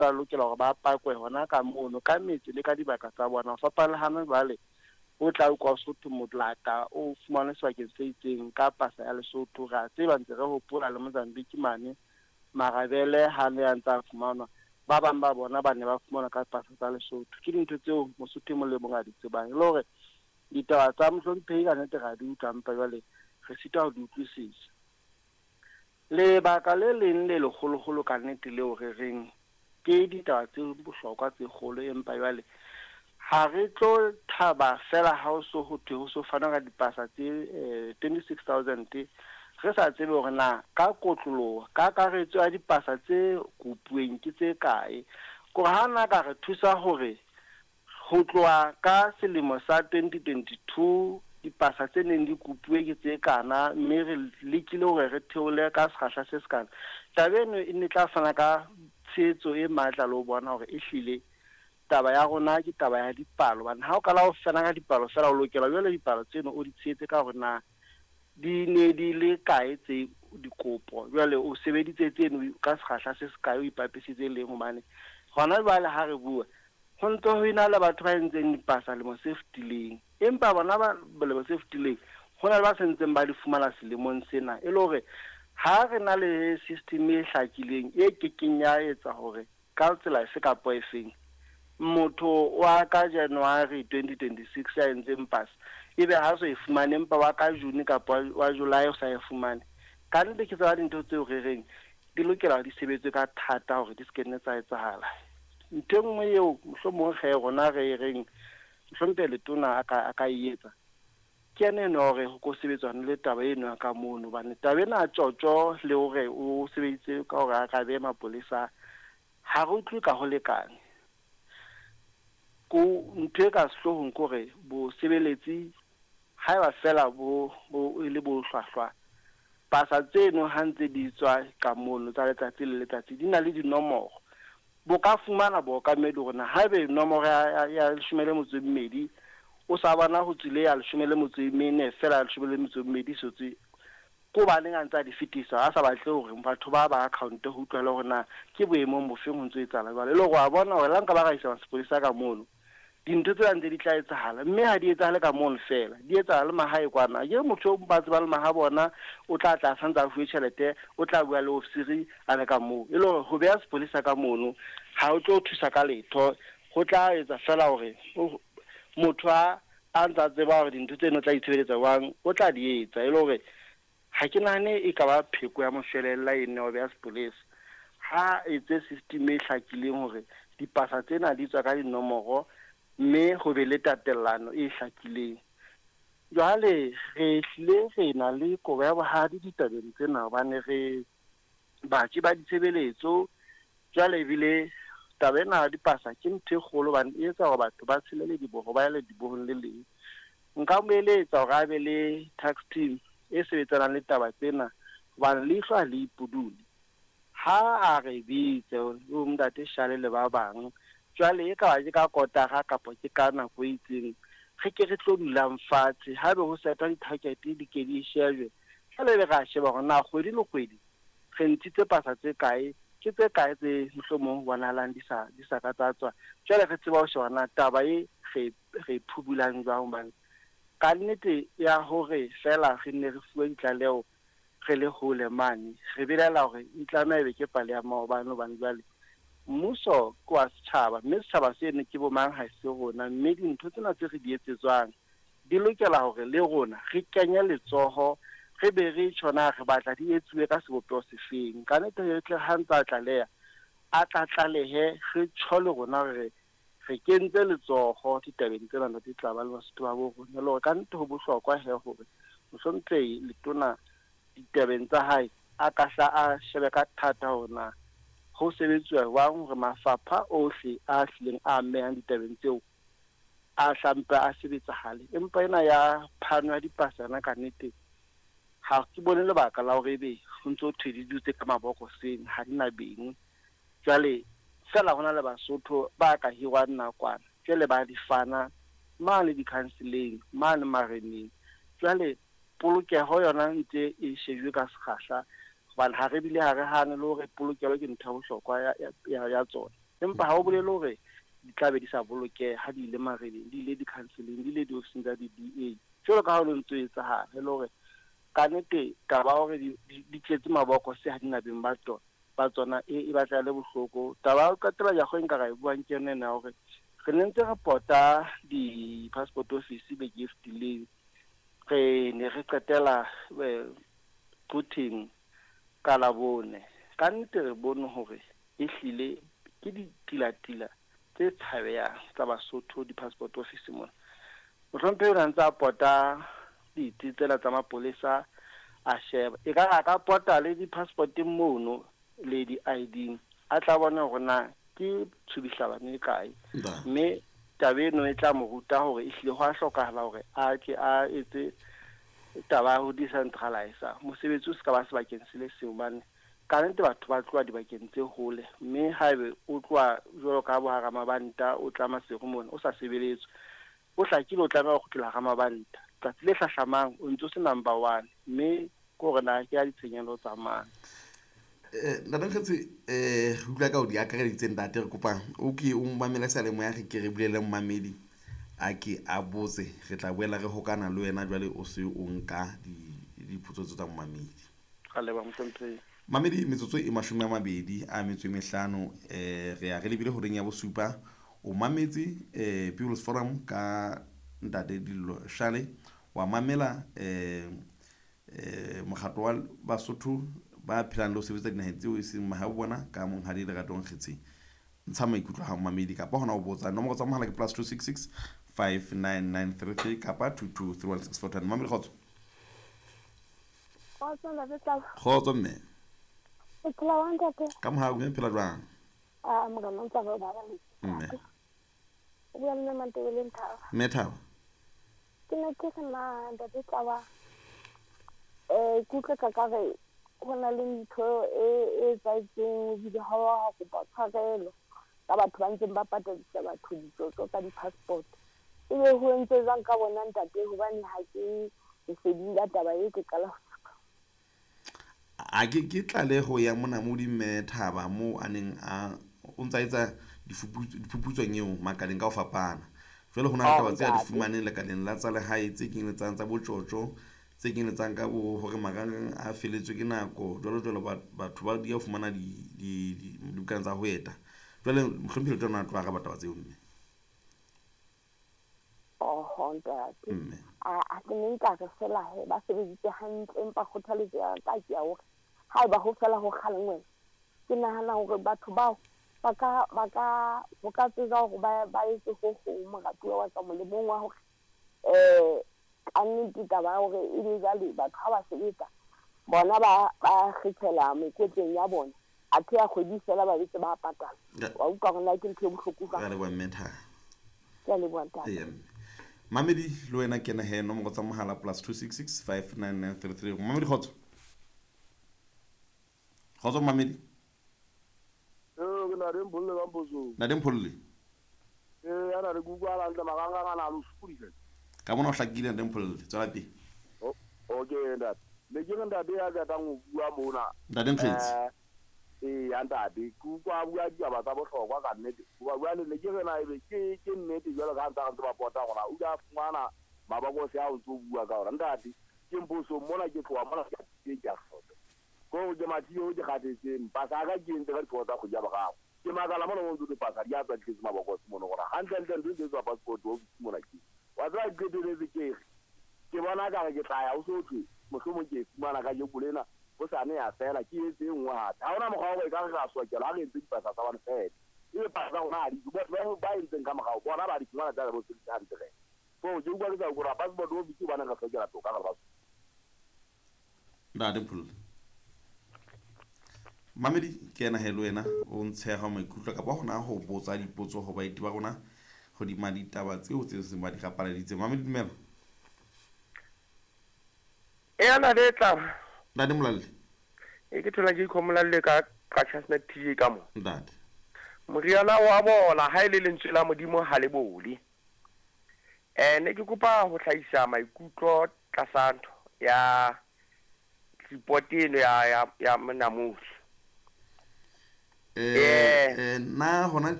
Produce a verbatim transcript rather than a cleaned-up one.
Ba lokela hore ba pakwe hona ka mono ka metse le ka dibaka tsa bona. Ho fapana le hana jwale, o tla utlwa Sotho motlata o fumanwe sebakeng se itseng ka pasa ya Lesotho. Re a tseba, ntse re hopola le Mozambique mane marabele ha ne a ntse a fumanwa, ba bang ba bona ba ne ba fumanwa ka pasa tsa Lesotho. Ke dintho tseo Mosotho e mong le mong a di tsebang. E le hore ditaba tsa mohlomphehi ka nnete re a di utlwa, empa jwale re sitwa ho di utlwisisa. Lebaka le leng le leholoholo ka nnete leo re reng ke ditaba tse bohlokwa tse kgolo, empa jwale ha re tlo thaba fela ha o so ho thwe ho so fanwa ka dipasa tse eh, twenty-six thousand, re sa tsebe hore na ka kotloloho ka kakaretso ya dipasa tse kopuweng ke tse kae. Kore ha na ka re thusa hore ho tloha ka selemo sa twenty twenty-two dipasa tse neng di kopuwe ke tse kana, mme re lekile hore re theole ka sekgahla se sekana, taba eno e ne tla fana ka tshehetso e matla le ho bona hore ehlile taba ya rona ke taba ya dipalo. Hobane ha o qala ho fana ka dipalo fela, o lokela jwale dipalo tseno o di tshehetse ka hore na di ne di le kae tse dikopo, jwale o sebeditse tseno ka sekgahla se sekae, o ipapisitse leng. Hobane hona jwale ha re bua, ho ntso ho ena le batho ba entseng dipasa lemo se fetileng, empa bona ba lemo se fetileng ho na le ba sentseng ba di fumana selemong sena. E le hore ha re na le system e hlakileng e kekeng ya etsa hore ka tsela efe kapa efeng motho wa ka January twenty twenty-six ya entseng pasa ebe ha so e fumane, empa wa ka June kapa wa July o sa e fumane. Ka nnete ke tsona dintho tseo re reng di lokela di sebetswe ka thata hore di se ke nne tsa etsahala. Ntho e nngwe eo mohlomong ge rona re reng mohlomphehi letona a ka, a ka e etsa ke ene eno hore ho ko sebetswane le taba eno ya ka mono, hobane taba ena ya tjotjo le hore o sebeditse ka hore a ka behe mapolesa, ha re utlwe ka ho lekane. Ko ntho e ka sehloohong ke hore bosebeletsi haeba fela bo, bo e le bo hlwahlwa, pasa tseno ha ntse di tswa ka mono tsa letsatsi le letsatsi di na le dinomoro. Bo ka fumana bookamedi hore na haebe nomoro ya, ya, ya leshome le metso e mmedi o sa bona ho tswile ya leshome le metso e mene fela ya leshome le metso e mmedi e sotswe, ke hobaneng a ntse a di fetisa, a sa batle hore batho ba ba account ho utlwela hore na ke boemong bofeng ho ntso etsahala jwale. E le hore wa bona hore la nka ba ra isa sepolesa ka mono, dintho tsena ntse di tla etsahala, mme ha di etsahale ka mono fela, di etsahala le mahae kwana. Ke motho o ba tsebang le maha bona, o tla tla santse a fuwe tjhelete, o tla bua le ofisiri a le ka moo. E le hore ho beha sepolesa ka mono ha o tlo thusa ka letho, ho tla etsa fela hore motho a, a ntsa tseba hore dintho tseno tla itshebeletsa jwang, o tla di etsa. E le hore ha ke nahane e ka ba pheko ya moshwelella e nne ho beha sepolesa. Ha etse system e hlakileng hore dipasa tsena di tswa ka dinomoro, mme ho be le tatellano e hlakileng. Jwale re hlile re na le kobo ya bohadi ditabeng tsena, hobane re batjhi ba ditshebeletso. Jwale ebile taba ena ya dipasa ke ntho e kgolo, hobane e etsa hore batho ba tshele lediboho, ba ye ledibohong le leng. Nka mo eletsa hore a be le tax team e sebetsanang le taba tsena, hobane leihlo ha le ipudule. Ha a re bitse o ntate Shale le ba bang, jwale e ka ba ke ka kotara kapa ke ka nako e itseng, re ke re tlo dulang fatshe, haebe ho setwa di-target di ke di shejwe. Jwale ebe re a sheba hore na kgwedi le kgwedi re ntshitse pasa tse kae, ke tse kae tse mohlomong ho bonahalang di sa, di sa ka tsa tswa. Jwale re tseba ho sheba na taba e re, re phubulang jwang, hobane ka nnete ya hore fela re nne re fuwe ditlaleho re le hole mane, re belaela hore e tlameha ebe ke pale ya maobane, hobane jwale mmuso ke wa setjhaba, mme setjhaba seno ke bo mang ha se rona, mme dintho tsena tse re di etsetswang di lokela hore le rona re kenye letsoho, re be re tjho na re batla di etsuwe ka sebopeho sefeng. Ka nnete re tle ha ntse a tlaleha, a tla tlalehe, re tjho le rona re re kentse letsoho ditabeng tsena di tla ba le Basotho ba bo rona. Le hore ka nnete ho bohlokwa he hore mohlomphehi letona ditabeng tsa hae a ka hla a shebe ka thata hore na ho sebetsuwa jwang hore mafapha ohle a hlileng a amehang ditabeng tseo a hlampe a sebetsahale. Empa ena ya phano ya dipasa yona ka nnete ha ke bone lebaka la hore ebe ho ntso thwe di dutse ka mabokoseng, ha di na beng. Jwale fela hona le Basotho ba ka hirwang nakwana, jwale ba di fana mane di-council-eng, mane mareneng. Jwale polokeho yona ntse e shejwe ka sekgahla, hobane ha re bile ha re hane le hore polokelo ke ntho ya bohlokwa ya, ya, ya, ya tsona. Empa ha o bolele hore di tla be di sa bolokeha ha di ile mareneng, di ile di-counseling, di ile di-ofising tsa di-D A. Jwalo ka ha ho ntso etsahala, e le hore ka nnete taba hore di di tletse mabokose ha di na beng ba tsona, ba tsona e e batla le bohloko. Taba ya ho qetela ya go nka ra e buang ke yona ena ya hore re ne ntse re pota di-passport office beke e fetileng. Re ne re qetela Quthing ka Labone. Ka nnete re bone hore ehlile ke ditilatila tse tshabehang tsa Basotho di-passport office mona. Mohlomphehi o ne a ntse a pota ditsi tsela tsa mapolesa a sheba. Ekare a ka pota le di-passport-eng mono le di-I D-ing, a tla bona hore na ke tshubihlabane e kae. Mme taba eno e tla mo ruta hore ehlile ho a hlokahala hore a ke a etse taba ya ho decentralize mosebetsi o se ka ba sebakeng se le seng, hobane ka nnete batho ba tloha dibakeng tse hole, mme haebe o tloha jwalo ka bo hara mabanta o tla Maseru mona o sa sebeletswe, o hlakile o tlameha ho kgutlela hara mabanta tsatsi le hlahlamang o ntso se number one, mme ke hore na ke ya ditshenyehelo tsa mang. Eh, Ntate Nkgetse, eh, re utlwa ka o di akareditse ntate, re kopa o ke o mamele seyalemoya, re ke re bulele mmamedi a ke a botse, re tla boela re hokana le wena jwale o se o nka dipotso tsa mmamedi. Ka leboha mohlomphehi. Mamedi, metsotso e mashome a mabedi a metso e mehlano, eh, re ya re lebile horeng ya bosupa. O mametse, eh, People's Forum ka ntate Dillo Shale, wa mamela, eh, eh, mokgatlo wa Basotho ba phelang le ho sebetsa dinaheng tseo e seng mahae bona ka monghadi Lerato Nkgetse. Ntsha maikutlo ha mamedi kapa hona ho botsa. Nomoro tsa mohala ke plus two six six five nine nine three three kapa two two three one six four ten. Mamedi, kgotso. Kgotso, ntate Tlaba. Kgotso, mme. O phela jwang, ntate? Ka mohau, mme, phela jwang? Ah, morena o ntse a re o baba le. Mme. O bua le mme Mantebele Thaba. Mme Thaba. Ke ne ke re na, ntate Tlaba, eh, ke utlwe ka ka re ho na le ntho e, e etsahetseng, ebile ha wa kopa tshwarelo ka batho ba ntseng ba patadisa batho ditsotso ka di-passport. Ebe ho entse jwang ka bona, ntate? Hobane ha ke leseding la taba e ke qala ho utlwa. A ke, ke tlaleho ya monamodi mme Thaba moo a neng a o ntsa etsa diphuputsong eo makaleng ka ho fapana. Jwale ho na le taba tse a di fumaneng lekaleng la tsa lehae tse kenyeletsang tsa botjotjo, tse kenyeletsang ka bo hore marangrang a feletswe ke nako, jwalo jwalo batho ba di a fumana di, di, di, dibukana tsa ho eta. Jwale mohlomphehi le tona a tlo araba taba tseo mme. Oho, ntate. Mme. A, a ke ne nka re fela he, ba sebeditse hantle, empa kgothaletso ya ka ke ya hore haeba ho fela ho kgalengwe, ke nahana hore batho bao ba ka, ba ka, ho ka tsejwa hore ba, ba etse ho hong moratuwa wa ka molemong wa hore, eh, ka nnete taba ya hore ebe jwale batho ha ba sebetsa, bona ba, ba kgethela mekotleng ya bona, athe ya kgwedi fela ba betse ba patala. Wa utlwa hore na ke ntho e bohloko jwang? Re a leboha mme Thaba. Ke a leboha ntate. Eya, mme. Mamedi, le wena kena he, nomoro tsa mohala plus two six six five nine nine three three. Mamedi, kgotso. Kgotso, Mamedi. Eh, ke na le Mpholle ka Mpotsong. Na le Mpholle? Eh, ana re kutlwa hantle, marangrang ana a lo sokodisa. Ka mona o hlakile, Ntate Mpholle. Tswela pele. O, okay, ntate. Ne ke re ntate ya qetang ho bua mona. Ntate Nkgetse. Eh, ee, ya ntate, ke utlwa a bua ditaba tsa bohlokwa ka nnete. Hoba jwale ne ke re na ebe ke, ke nnete jwalo ka ha ntse re ntse ba pota hore o ile a fumana mabakose ao ntso bua ka ona. Ntate, ke Mposong mona, ke tloha mona ke ke a hlotsa. Ko hore ke mathile, ke kgathetse, pasa ya ka ke entse ka ditlhoko tsa kgwedi ya boraro. Ke makala mona mo ntse ke pasa, di a tswa di tletse mabokose mono hore hantlentle ntho e ntse e tswa passport office mona ke. Wa tseba ke qetelletse ke re, ke bona ka re ke tla ya ho so thwe, mohlomong ke e fumana kajeko lena, hosane ya fela, ke etse e nngwe hape. Ha hona mokgwa wa hore ekare re a sokelwa ha re entse dipasa tsa bana fela. Ebe pasa tsa rona ha di tswe, batho ba, ba entseng ka morao, bona ba di fumana tsa bo sebedisa hantle re. So, ke utlwa ke sa hore passport office hobane re hlokela toka re le batho. Ntate Mpholle. Mamedi, ke ena he le wena o ntsheha maikutlo kapa hona ho botsa dipotso ho baeti ba rona hodima ditaba tseo tse seng ba di rapaladitse. Mamedi, dumela. E ana le tla. Ntate Molalle. E ke thola ke ikhomola ka ka Chestnut T J ka mo. Ntate. Moriana wa bola ha ile lentswe la Modimo ha le bole. Eh, ne ke kopa ho hlahisa maikutlo tlasa ntho ya report eno ya, ya, ya Monamodi. Eh eh na hona